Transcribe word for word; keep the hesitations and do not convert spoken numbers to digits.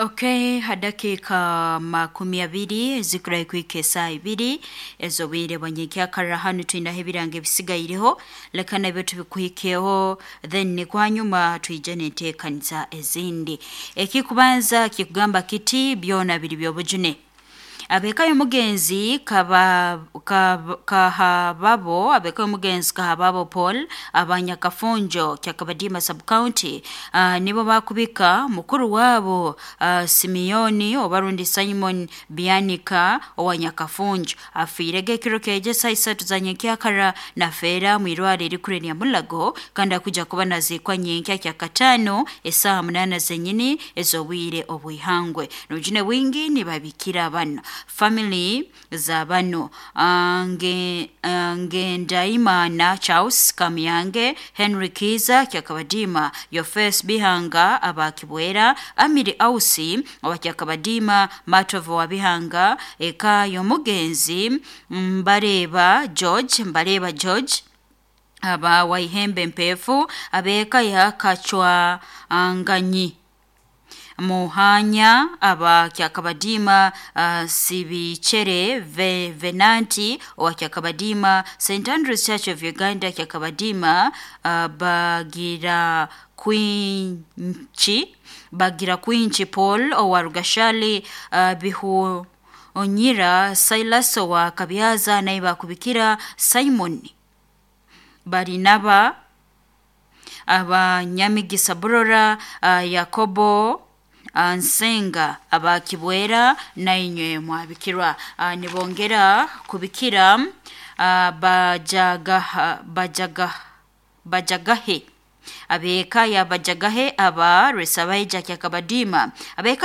Okay, hadakiika makumi abiri ezikurahi kuhika esaaha ibiri ez'obwire bwa nyenkyakara. Hanu twinaho ebirango ebisigaireho, leka nabyo tubikuhikeho, then nikwo hanyuma twije n'enteekaniza ezindi. Ekikubanza kikugamba kiti: byona biri by'obujune. Ab'eka y'omugenzi kaba Kahababo, ab'eka y'omugenzi Kahababo Paul abanyakafunjo Kyakabadiima Sub County, uh, nibo bakubika mukuru wabo uh, Simeoni oba rundi Simon Byanika owa Nyakafunjo afiirege ekiro kyeje saa isatu za nyenkyakara, nafeera mwirwaro erikuru erya Mulago, kandi akuja kuba naziikwa nyenkya kyakataano esaaha munaana zenyini ez'obwire obw'ihangwe. N'obujune bwingi nibabikira bano family za bano uh, nge, uh, Ngendaimana Charles Kamyange, Henry Kiza Kyakabadiima, Yofes Bihanga aba Kibwera, Amiri Ausi owa Kyakabadiima, Matovu wa Bihanga, eka y'omugenzi Mbareba George, Mbareba George aba Waihembe Mpefu, ab'eka ya Kachwanganyi Muhanya aba Kyakabadiima, uh, Sibichere Ve, Venanti owa Kyakabadiima, Saint Andrews Church of Uganda Kyakabadiima, uh, Bagira Kwinchi Bagira Kwinchi Paul owa Rugashali, uh, Bihu Onyira Silas owa Kabyaza, naye bakubikira Simon Barinaba Abanyamigisa Burora, uh, Yakobo Nsenga abakibwera, nainywe mwabikirwa. uh, nibongera kubikira uh, bajagaha bajaga bajagahe ab'eka ya Bajagahe aba Rwesabaija Kyakabadiima, ab'eka